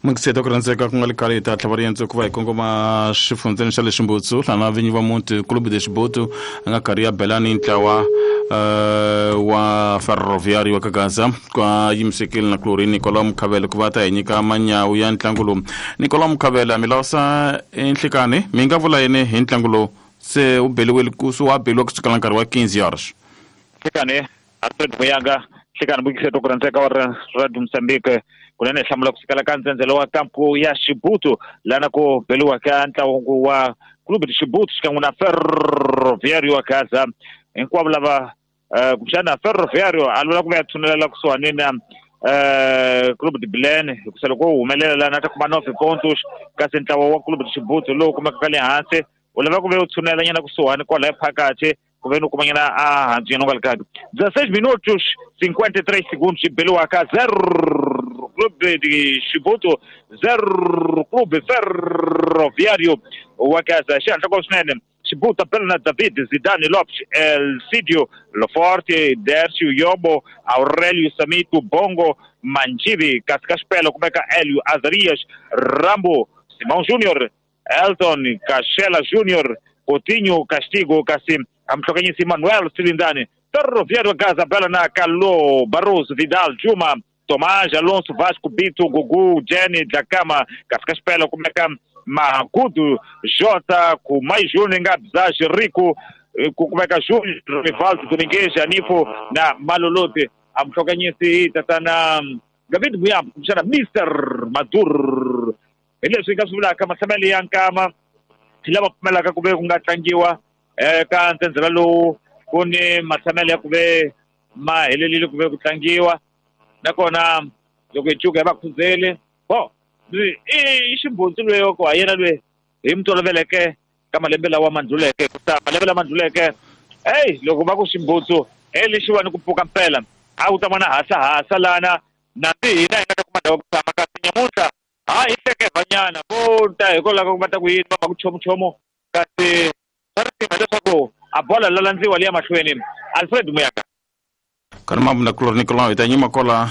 Mukiseta ku rhandzeka ku nga le khale hi ta tlhava riendzo ku va hi kongoma xifundzeni xa le Ximbutsu hlana vinyi va muti Clube de Xibutu a nga karhi ya belani ntlawa wa Ferroviário wa ka Gaza kwa yimisekile na kulorhi Nicolau Mukhavele ku va ta hi nyika manyawu ya ntlangu lowu. Nicolau Mukhavele mi lawusa enhlikani mi nga vula yini hi ntlangu lowu se u beliwile ku se wa beliwa kusukela nkarhi wa 15 horas. Nhlikani Alfred Muyanga nhlikani mukiseto ku rhandzeka wa Radio Mozambique kunene hi hlamula kusukela ka ndzhendzelo wa kampu ya Xibutu lana ku beliwa ka ntlangu wa Clube de Xibutu xikan'we na Ferroviário wa Gaza hinkwavo lava kumbexana Ferroviário a lwela ku va ya tshunelela kusuhani na Clube de Belém hikusa loko wo humelela lana a ta kuma 9 pontos kasi ntlawa wa Clube de Xibutu lowu kumekaka le hansi u lava ku ve u tshunela nyana kusuhani kwalaya phakathi ku ve ni u kumanyana a hansi nyana u nga li kahle 16 minutos 53 segundos xi beliwaka 0 Clube de Xibutu 0 Clube Ferroviário wa Gaza xihatla ko swinene Xibutu bela na David Zidane Lopes Elcidio Loforte Dercio Yobo Aurelio Samito Bongo Manjivi kasi ka xipelo kumeka Elio Azarias Rambo Simão Junior Elton Cachela Junior Coutinho Castigo kasi amhlokanyisi Manuel Silindani Ferroviário Gaza bela na Carlo Barroso Vidal Juma Tomás Alonso Vasco Bito Gugu Jenny Dlakama kasi ka xipelo kumeka Magudu Jota Kumai Júnior Ngabzaj Rico ku kumeka Júnior Rivaldo Domingues Anifo na Malolote amhlokanyisi tatana David Muyambo kumbexana Mr Madur hi leswi hi nga swi vulaka mahlamelo ya nkama hi lava pfumelaka ku ve ku nga tlangiwa ka ntsenzela lowu ku ni matshamelo ya ku ve ma helelile ku ve ku tlangiwa nakona loko hi cuka hi va khuzeli bo i ximbundzu lweyo ku ha yena lwe hi mi toloveleke ka malembe lawa ma ndluleke kusa malembe lama ndluleke eyi loko va ku ximbutsu e lexiwani ku pfuka mpela a wu ta vona hasahasa lana nambi hina hi nga ta kuma ndhawu ku tshama kasi nyamuntlha ha hi hlekevanyana vo ta hikwalaho ka ku va ta ku yini va va ku chomuchomu kasi swa risima leswaku a bola la landziwa liya mahlweni Alfred Muyaka Kana mambo na kulorhi Nicolau hi ta nyima kola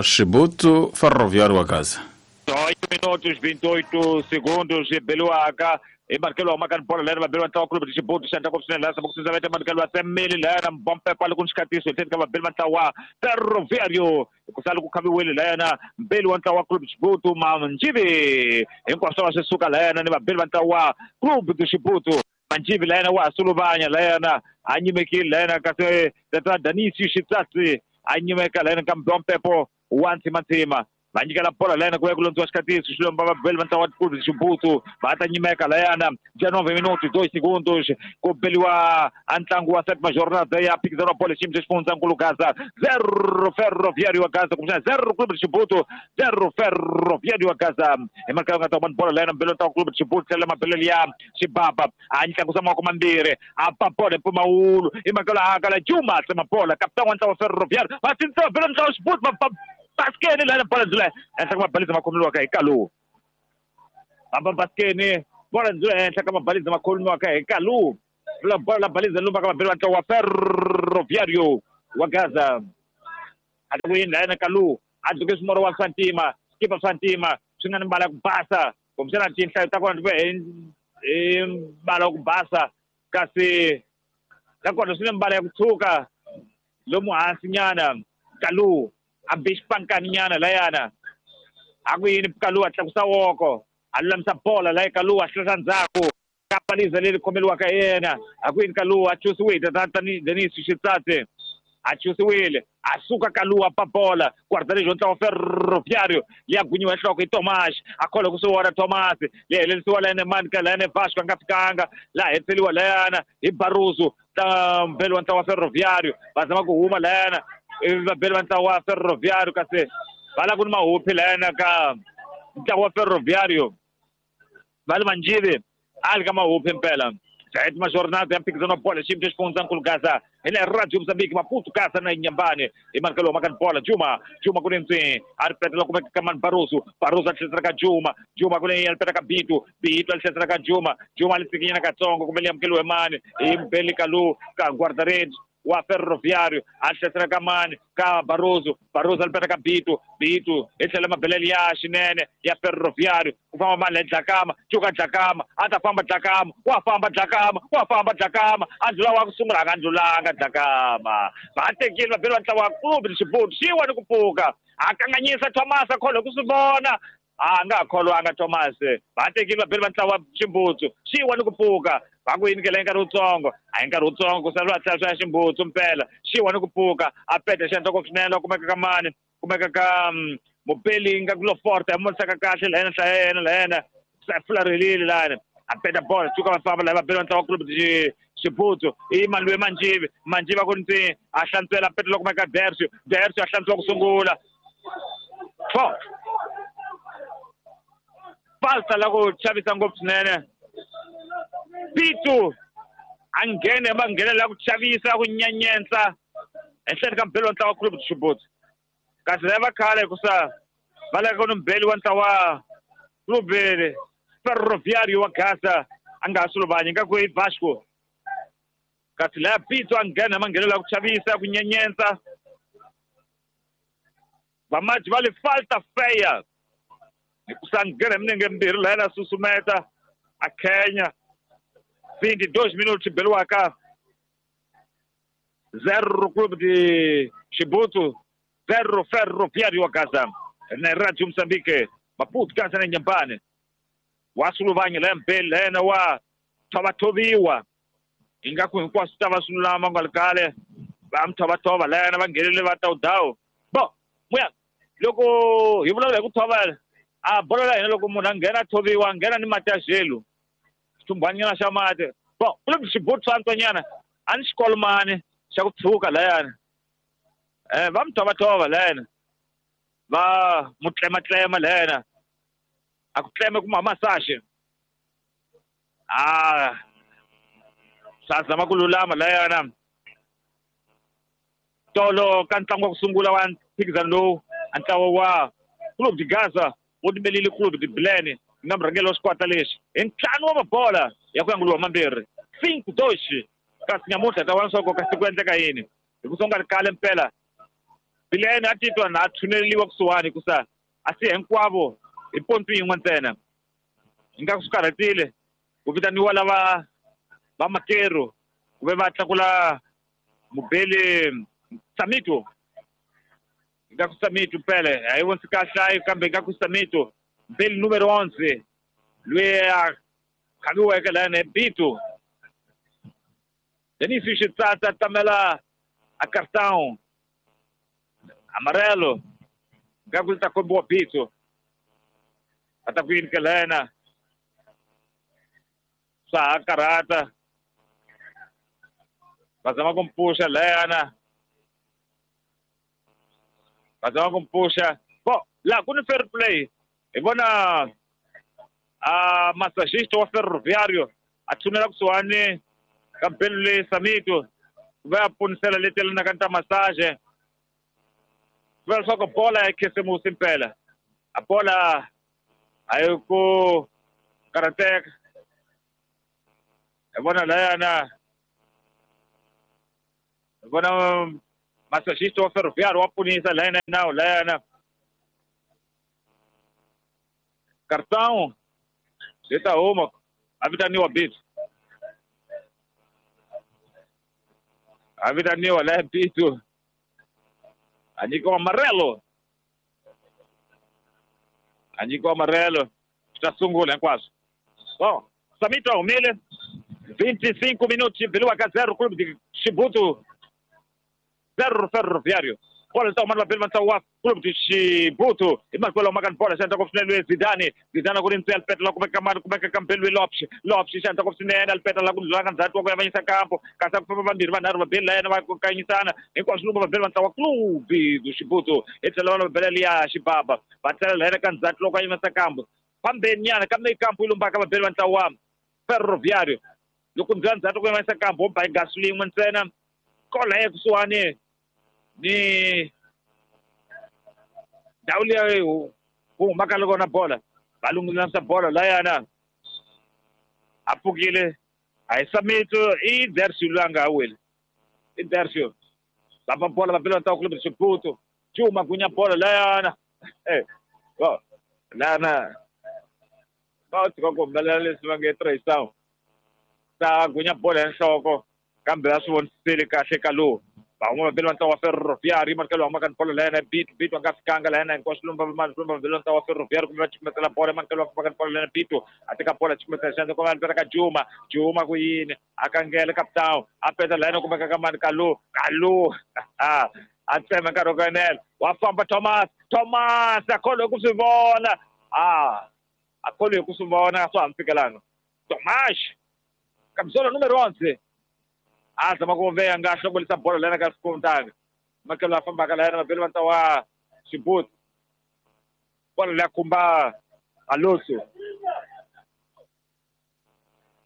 Xibutu Ferroviário wa Gaza 8 minutos 28 segundos beliwaka hi markelo wa makani bola leri va beliwa ntlawa Clube de Xibutu xa ndhaku swinene laha samaka swinene va markelo wa Semmeli layana mbompepa loko ni xikatiso hi tlhelo ka vabeli va ntlawa Ferroviário ku sala ku khaviwile layana mbeli wa ntlawa Clube de Xibutu Manjivi hinkwaswo va swi suka layana ni vabeli va ntlawa Clube de Xibutu Manjivi layana wa ha suluvanya layana a nyimekile layana kasi tata Danisi Xitsatsi a nyimeka layana ka mbompepo wa ntsimantsima va nyikela bola layana ku ya ku londziwa xikatiso xilomba vabeli va ntlawa Clube de Xibutu va ta nyimeka layana 19 minutos 2 segundos ku beliwa a ntlangu wa sétima jornada ya phikizano wa bola xiyimo xa xifundzankulu Gaza 0 Ferroviário wa Gaza kumbexana 0 Clube de Xibutu 0 Ferroviário wa Gaza hi marka nga ta vona bola layana mbeli wa ntlawa Clube de Xibutu tlhela mabelelo ya xibaba a tlakusa mavoko mambirhi a ba bola hi mpfumawulo hi mhaka la hakala Juma tsema bola kapitani wa ntlawa Ferroviário va sindzisa vabeli va ntlawa Xibutu va baskeni lana bola ndzula henhla ka mabalizi ma khomiwaka hi Kalu amba baskeni bola ndzula henhla ka mabalizi ma khomiwaka hi Kalu la bola la balizi lumba ka mabeli wa ntlawa wa Ferroviário wa Gaza a ku yini layana Kalu a dzuke swimoro wa swa ntima xikipa swa ntima swi nga ni mbala ya ku basa kumbexana tinhlayo ta kona ti va hi mbala wa ku basa kasi nakona swi ni mbala ya ku tshuka lomu hansi nyana Kalu a be xipankani nyana layana a ku yini Kalu a tlakusa woko a lulamisa bola laya Kalu a hlehla ndzhaku ka paliza leri khomeliwaka hi yena a ku yini Kalu a chusiwile tani Denis Xitsatsi a chusiwile a suka Kalu a ba bola guarda-redes wa ntlawa Ferroviário liya gwinyiwa hi nhloko hi Tomás a kholwa ku swi vona Tomás leyi helelisiwa layana mani ka layana Vasco a nga fikanga laha hetiseliwa layana hi Barroso ta mbeli wa ntlawa Ferroviário va zama ku huma layana ivi vabeli va ntlawa wa Ferroviário kasi va la ku ni mahuphi layana ka ntlawa wa Ferroviário va le Manjivi a li ka mahuphi mpela sétima jornada ya mphikizano wa bola xiyimo xa xifundzankulu Gaza hi le Radio Mozambique Maputo Gaza na Inhambane hi markelo wa makani bola Juma Juma ku ntswi a ri petela kumeka ka mani Barroso Barroso a tlherisela ka Juma Juma ku a ri peta ka Bitu Bitu a tlherisela ka Juma Juma a li tsikinyana katsongo kumbe li amukeliwe mani hi Mbeli Kalu ka guarda-redes wa Ferroviário a hlasela ka mani ka Barroso Barroso a lipeta ka Bito Bito hi tlhela mabelele ya xinene ya Ferroviário ku famba mani Dlakama cuka Dlakama a ta famba Dlakama wa famba Dlakama wa famba Dlakama a ndlula wa ku sungula a nga ndlulanga Dlakama va tekile vabeli va ntlawa wa Clube de Chibuto xiwa ni ku pfuka a kanganyisa Thomas a kholwa ku swi vona a nga kholwanga Thomas va tekile vabeli va ntlawa Ximbutsu xiwa ni ku pfuka va ku yinikela hi nkarhi wutsongo a hi nkarhi wutsongo ku sala va tlhela swa ya Ximbutsu mpela xiwa ni ku pfuka a peta xi endla ngopfu swinene kumeka ka mani kumeka ka mupeli nga ku Loforte a monisaka kahle la yena hlaya yena la yena fularhelile lani a peta bola cuka va famba la vabeli va ntlawa Clube de Ximbutsu i Malwe Manjivi Manjivi a ku ntsi a hlantswela a peta loko kumeka Dersio Dersio a hlantswiwa ku sungula 4 falta la ku chavisa ngopfu swinene Pitu a nghene va nghenela ku chavisa ku nyenyentsa ehenhleni ka mbeli wa ntlawa Clube de Ximbutsu kasi lava khale hikusa va lava ku ni mbeli wa ntlawa Clube Ferroviário wa Gaza a nga ha suluvanyi nga ku i Vasco kasi laya Pitu a nghena ma nghenela ku chavisa ku nyenyentsa vamaji va le falta feya hikusa nghena minenge mbirhi la yena susumeta a khenya 22 minutos beliwaka 0 Clube de Chibuto 0 Ferroviário wa Gaza na Radio Moçambique Maputo Gaza na Nyambane wa suluvanya la mbeli la yena wa thovathoviwa ingaku hinkwaswo ta va swi lulama nga ri kale va mi thovathova la yena va nghenele va tawudawu bo muya loko hi vulavula hi ku thovela a bolo la hina loko munhu a nghena a thoviwa a nghena ni mati ya xelu xithumbhanyana xa mati bon ku le xibutu swa antswanyana a ni xikolomani xa ku tshuka layani va mi thovathova layena va mu tlematlema layena a ku tleme kuma massage a swa zama ku lulama layana tolo ka ntlangu wa ku sungula wa mphikizano lowu a ntlawa wa Clube de Gaza wu timelile Clube de Bilene nga murhangeri wa xikwata lexi hi ntlhanu wa mabola ya ku yanguliwa mambirhi 5-2 kasi nyamuntlha ta vona swa ku kasi ku endleka yini hi ku songa ri kale mpela Bilene a titwa na a tshuneleliwa kusuhani hikusa a si hinkwavo hi pontu yin'we ntsena ingaku swi karhatile ku vitaniwa lava va makeru ku ve va tlakula mubeli Samito ingaku Samito mpele a yi vonisi kahle ayi kambe ingaku Samito mbeli numero 11 loyi a khaviweke layani hi Bito Denis Xitsatsa tamela a cartão amarelo ingaku li ta kombiwa Bito a ta ku yinikela yena swa ha karhata va zama ku mpfuxa layana va zama ku mpfuxa bo laha ku ni fair play hi vona a massagista wa Ferroviário a tshunela kusuhani ka mpelo leyi Samito ku va ya ponisela leti yelanaka ni ta massage ku vula leswaku bola ya khisimusi mpela a bola a yi ku karhateka hi vona layana hi vona massagista wa Ferroviário wa punisa layana nawu layana cartão ri ta huma a vitaniwa Bito a vitaniwa laya Bito a nyikiwa amarelo a nyikiwa amarelo swi ta sungula hinkwaswo so Samito a humile 25 minutos beliwaka 0 Clube de Chibuto 0 Ferroviário bola ta humana vabeli va ntlawa wa Clube de Chibuto hi makwelo maka ni bola xi endla ngopfu swinene loyi Zidane Zidane ku ri ntswi alipeta la kumeka mani kumeka ka mbeli loyi Lopes Lopes xi endla ngopfu swinene alipeta la ku ndlula ka ndzhaku wa ku yavanyisa kampo kasi a ku famba vambirhi vanharhu vabeli la yena va kanyisana hinkwaswo lumba vabeli va ntlawa Clube de Chibuto hi tlhela vana vabela liya Xibaba va tlela la yena ka ndzhaku loko a yimisa kampo fambeni nyana kambe kampo yi lumbaka vabeli va ntlawa wa Ferroviário loko ndlula ndzhaku ku yimisa kampo wo ba hi gasu lin'we ntsena kola ya kusuhani ni ndhawu liya ku humaka loko na bola va lunghilanisa bola layana a pfukile a hi Samito i Dersio loyi a nga ha weli Intercio va bola va bela ntlawa Clube de Chibuto Juma gunya bola layana lana va tshika ku humelela leswi va nge traição ta gunya bola ya nhloko kambe a swi vonisile kahle ka lowu van'wana va bela ntlawa wa Ferroviário manikelo wa maka bola layana Bito a nga fikanga layana hinkwaswo lumba va bela ntlawa wa Ferroviário kumbe va chukumetela bola manikelo wa maka bola layana Bito a teka bola chukumetela xandla kuma va ka Juma ku yini a kangela capitão a peta layana kumbe ka mani Kalu a tsema nkarhi wo enela wa famba Thomas a kholwe ku swi vona a kholwe ku swi vona swa ha fikelanga Thomas camisola número 11 a zama ku veya nga hlongolisa bola lena ka sikontanga makelo a fambaka layena mabeli va ntlawa Chibuto bola leya khumba Alonso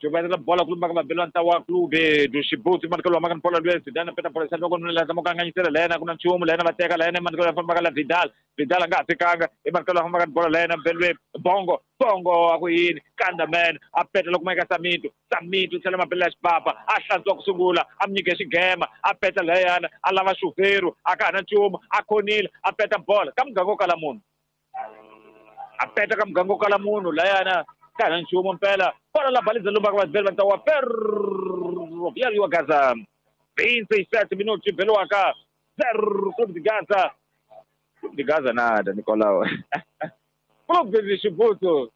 Chubatela bola kulumba ka mabeli va ntlawa Clube do Chibuto manikelo wa makani bola lwe Zidane peta bola xandla ku zama ku kanganyisela layena ku na nchumu layena va teka layena manikelo ya fambaka la Vidal a nga ha fikanga i manikelo ya fambaka bola layena mbelwe Bongo a ku yini kanda man a peta loko maika Samito tlhela mabeli ya xipapa a hlantswa ku sungula a mi nyike xigema a peta layana a lava xuveru a ka ha na nchumu a khonile a peta bola ka muganga wo kala munhu a peta ka muganga wo kala munhu layana ka ha na nchumu mpela bola la baliza lumba ka vabeli va ntlawa Ferroviário wa Gaza 27 minutos beliwaka 0 Clube de Gaza Clube de Gaza nada Nicolau Clube de Chibuto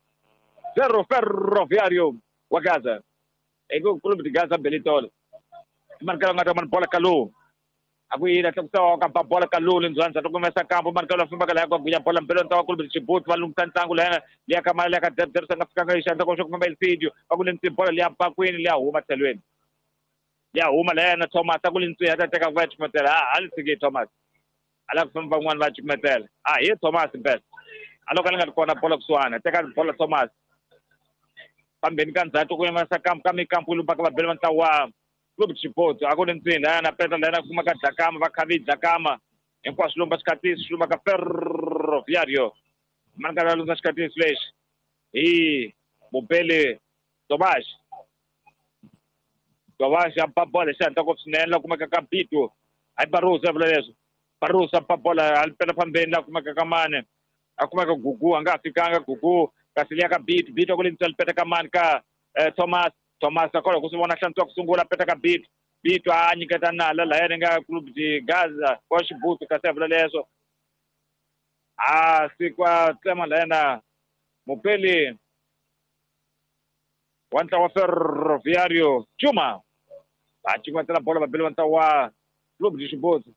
0 Ferroviário wa Gaza eko Clube de Gaza belitola manikelo nga ta mani bola Kalu a ku yini a tlakusa ka ba bola Kalu lindzwanza to kumesa kampo manikelo fambaka laya ku gunya bola mbelo ntlawa Clube de Chibuto va lunghisa ntlangu layana liya ka mali liya ka derderisa nga fikanga xandla ko xo famba Elfidio va ku lentswi bola liya bakwini liya huma tlhelweni liya huma layana Thomas a ku lentswi ya ta teka ku va chukumetela a li tshiki Thomas a lava ku famba van'wani va chukumetela a hi Thomas mpela a loko a li nga ri kona bola kusuhana teka bola Thomas pambeni ka ndzhaku ku yimisa kampu ka mikampu lumba ka vabeli va ntlawa Clube de Chibuto a ku ri ntsini layana peta layana kuma ka Dlakama va khavi Dlakama hinkwaswo lumba xikatisi swi lumba ka Ferroviário manikelo ya lumba xikatisi lexi hi mubeli Tomas a ba bola xi hatla ngopfu swinene la kumeka ka Bito hayi Barroso ya vula leswo Barroso a ba bola a pela phambeni la kumeka ka mane a kumeka Gugu a nga ha fikanga Gugu kasi liya ka Bito a ku le ntswela peta ka mani ka Thomas a kholwa ku swi vona hlantswa ku sungula peta ka Bito a nyiketa nala layana nga Clube de Gaza wa Chibuto kasi a vula leswo a sikwa tsema layana mupeli wa ntlawa Ferroviário Juma va cukumetela bola vabeli va ntlawa Clube de Chibuto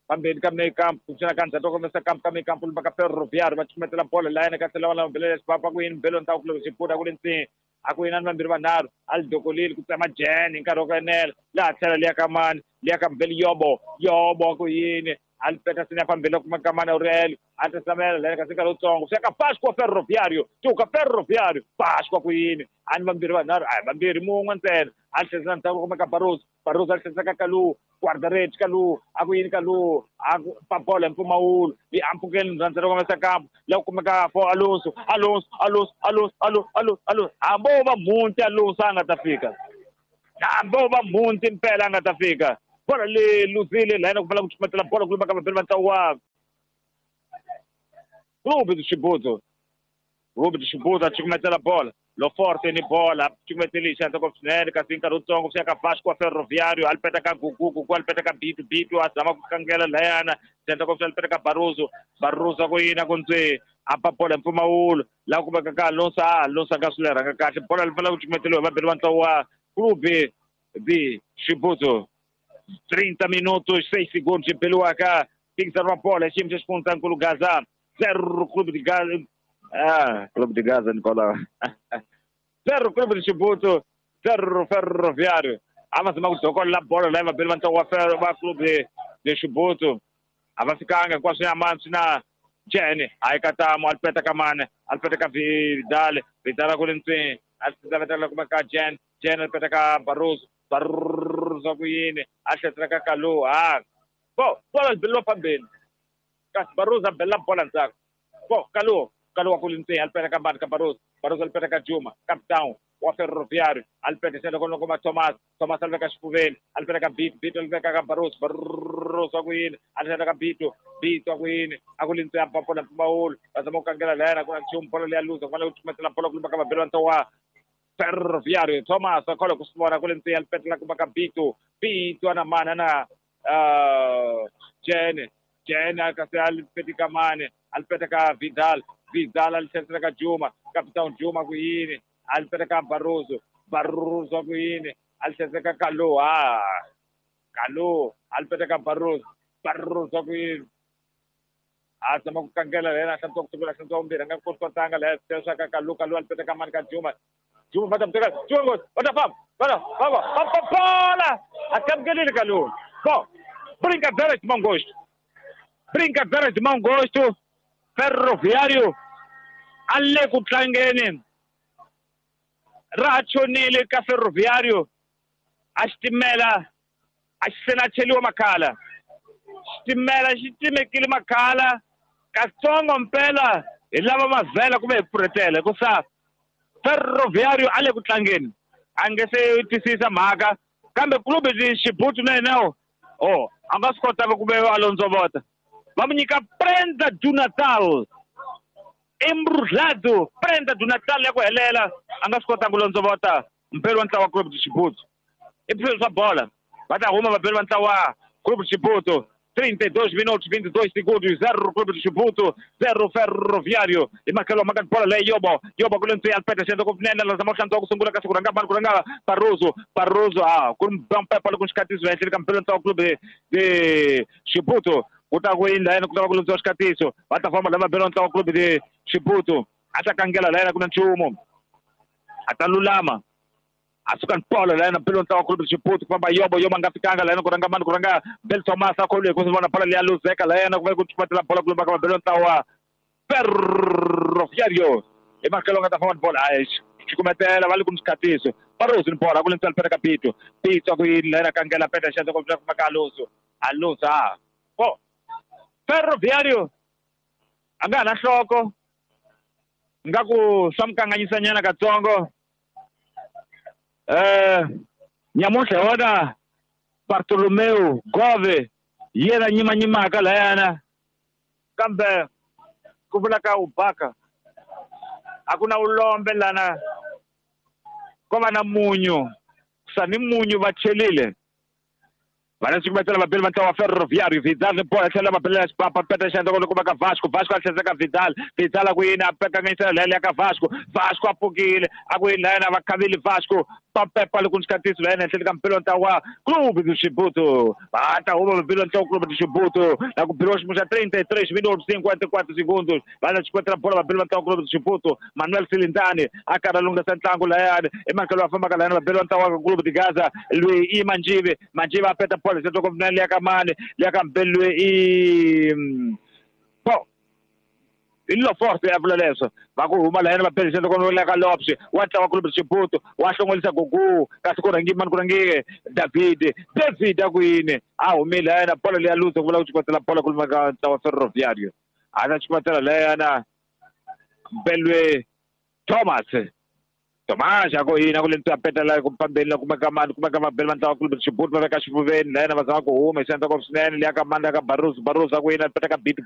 pambeni ka mekampu kuxana ka ndzhaku komesa kampu ka mekampu lumba ka Ferroviário va cukumetela bola layana ka tlhela va lava mbele xipapa ku yini mbelo ntlawa Clube de Chibuto a ku le ntsini a ku yinani vambirhi vanharhu a li dokolile ku tsema Jen hi nkarhi wo enela laha tlhela liya ka mani liya ka mbeli Yobo ku yini a li peta sini ya phambili kuma ka mani Aurelio a tasamela layana kasi nkarhi wutsongo swi ya ka Pasco Ferroviário tuka Ferroviário Pasco ku yini a ni vambirhi vanharhu a hi vambirhi mun'we ntsena a li tlherisela ndzhaku kuma ka Barroso a li tlherisela ka Kalu guarda-redes Kalu a ku yini Kalu a ku pa bola hi mpfumawulo yi ampfukeni ndzhandzhelo komesa kampu la ku kumeka fo Alonso hambi wo va mhunti Alonso a nga ta fika hambi wo va mhunti mpela a nga ta fika bola le luzile layana ku fanele ku chukumetela bola ku lumba ka vabeli va ntlawa Clube de Chibuto a chukumetela bola Lo Forte ni bola chukumeteli xandla ngopfu swinene kasi nkarhi wutsongo swi ya ka Vasco Ferroviário a li peta ka Gugu a li peta ka Bito a zama ku kangela layana xandla ngopfu a li peta ka Barroso ku yini ku ntswi a ba bola hi mpfumawulo laha ku kumeka ka Alonso Alonso a nga swi lerhanga kahle bola li fanele ku chukumeteliwa hi vabeli va ntlawa Clube de Chibuto 30 minutos 6 segundos beliwaka fikisa bola xiyimo xa xifundzankulu Gaza 0 Clube de Gaza Clube de Gaza Nicolau 0 Clube de Chibuto 0 Ferroviário a va zama ku dokolela bolo laya vabeli va ntlawa va Clube de Chibuto a va fikanga hinkwaswo ya mani swi na Jen a yi ka tamo a li peta ka mane a li peta ka Vidal a ku le ntsini a li vetela kuma ka Jen a li peta ka Barroso ku yini a tlherisela ka Kalu bo bola li beliwa phambeni kasi Barroso a belela bola ndzhaku bo Kalu wa ku le ntsini a li peta ka mani ka Barroso a li peta ka Juma capitão wa Ferroviário alipeta xana kona kuma Thomas Thomas aliveka xifuveni alipeta ka Bito Bito aliveka ka Barroso Barroso ku yini alipeta ka Bito Bito ku yini a ku lintsi ya papola mpfumawulo va zama ku kangela layana ku na nchumu bolo leya luza ku fanele ku chumetela bolo ku lumba ka vabeli va ntlawa Ferroviário Thomas akhola ku swi vona ku lintsi ya alipetela kuma ka Bito Bito na mana na Jene Jene kasi alipeti ka mane alipeta ka Vidal Vidal alitlherisela ka Juma Capitão Juma ku yini alipeta ka Barroso Barroso ku yini alitlherisela ka Kalu Kalu alipeta ka Barroso Barroso ku yini a zama ku kangela lena hlantswa ku sungula hlantswa vumbirhi a nga koti ku tlanga leha tlherisa ka Kalu Kalu alipeta ka mani ka Juma Juma va ta mu teka Juma va ta famba va ta famba famba bola a amukelile Kalu bom brincadeira de mau gosto brincadeira de mau gosto Ferroviário a le ku tlangeni ra chonile ka Ferroviário a xitimela a xi se na cheliwa makhala xitimela xi timekile makhala katsongo mpela hi lava mavhela kumbe hi pfurhetela hikusa Ferroviário a le ku tlangeni a nge se twisisa mhaka kambe clube de Chibuto na yena o a nga swi kotanga ku ve a londzovota va mu nyika Prenda do Natal embrulhado Prenda do Natal ya ku helela a nga swi kotanga ku londzovota mpelo wa ntlawa Clube de Chibuto i swilo swa bola va ta huma vabeli va ntlawa Clube de Chibuto 32 minutos 22 segundos 0 Clube de Chibuto 0 Ferroviário i makelo maka bola leyi yobo yobo ku lentswi alpeta xendla ku nene la zama hlantswa ku sungula kasi ku rhanga mani ku rhanga Barroso Barroso a ku ri mpepa loko xikatiso ehenhleni ka mpelo ntlawa Clube de Chibuto ku ta ku yini layena ku ta va ku lundziwa xikatiso va ta famba lava bela ntlawa Clube de Chibuto a ta kangela layena ku na nchumu a ta lulama a suka ni bolo layena mpelo ntlawa Clube de Chibuto ku famba yobo yobo a nga fikanga layena ku rhanga mani ku rhanga Bel Thomas a kholiwe ku vona bola leya luzeka layena ku va ku chumatela bola ku lumba ka vabelo ntlawa Ferroviário i makelo nga ta famba ni bola hayi xikumetela va le ku ni xikatiso Barroso ni bola ku lentswa lipeta ka Bito Bito ku yini layena kangela peta xandla ku kuma ka Alonso Alonso a po Ferroviário a nga ha na nhloko nga ku swa mu kanganyisanyana katsongo nyamuntlha hi wona Bartolomeu Gove yena nyimanyimaka layana kambe ku vula ka Ubaka a ku na ulombe lana ko va na munyu sa ni munyu va chelile vana xikumetela vabeli va ntlawa Ferroviário Vidal ni bola tlhela va belela xipapa peta xandla loko va ka Vasco Vasco a tlhela ka Vidal Vidal a ku yini a kanganyisela leya ka Vasco Vasco a pfukile a ku yini layena va khavile Vasco papepa loko ni xikatiso layena ehenhleni ka mpelo ntlawa Clube de Chibuto va ta huma vabeli ntlawa Clube de Chibuto na ku beriwa xiyimo xa 33 minutos 54 segundos va na xikumetela bola vabeli va ntlawa Clube de Chibuto Manuel Silindani a karhi a lunghisa ntlangu layani emakelo va fambaka layena vabeli va ntlawa Clube de Gaza loyi i Manjive Manjive a peta bola xandla ku liya ka mani liya ka mbeli i po i lo forte ya vula leswo va ku huma layena va beli xandla ku liya ka Lopes wa ntlawa Clube de Chibuto wa hlongolisa Gugu kasi ku rhangi mani ku rhangi David David a ku yini a humile layena bola leya luza ku vula ku xikotela bola ku luma ka ntlawa Ferroviário a na xikotela layena Belwe Thomas Thomas a ku yini a ku lentswi a petela ku fambeni kuma ka mani kuma ka mabeli va ntlawa Clube de Chibuto va veka xifuveni layena va zama ku huma hi xandla ku swinene liya ka mani liya ka Barroso Barroso a ku yini a peta ka Bito